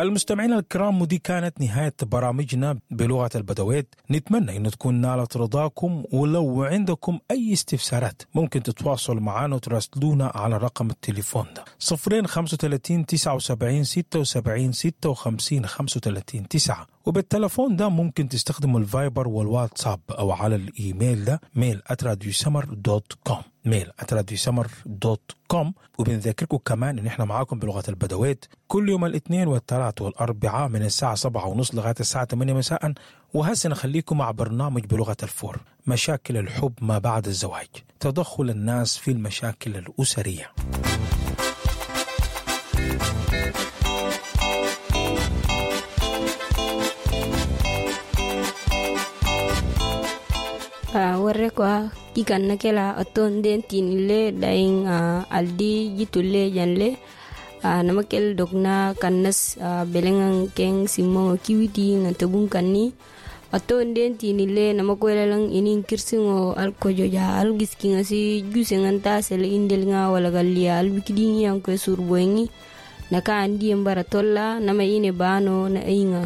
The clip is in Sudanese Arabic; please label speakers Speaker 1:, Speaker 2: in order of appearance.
Speaker 1: المستمعين الكرام، ودي كانت نهاية برامجنا بلغة البدويت. نتمنى أن تكون نالت رضاكم، ولو عندكم أي استفسارات ممكن تتواصلوا معنا وتراسلونا على رقم التليفون ده: 0 35 79 76 56 35 9. وبالتلفون ده ممكن تستخدموا الفايبر والواتساب، أو على الإيميل ده mail@radiosummer.com، mail@radiosummer.com. وبنذكركم كمان إن إحنا معاكم بلغة البدويت كل يوم الاثنين والثلاث والأربعاء من الساعة 7:30 لغاية الساعة 8 مساء. وهسه نخليكم مع برنامج بلغة الفور: مشاكل الحب ما بعد الزواج، تدخل الناس في المشاكل الأسرية.
Speaker 2: Warre kwa kikan na kela aton den tinile daing aldi jitulle janle namakel dokna kannas belengan keng simmo kiwiti na tabun kanni aton den tinile namakwelalang inin kirsingo alkojoja algiskinga si jusengan ta sele indelnga wala gallia albikidingi anko surboengi naka andi bara tolla nama ine bano na ainga.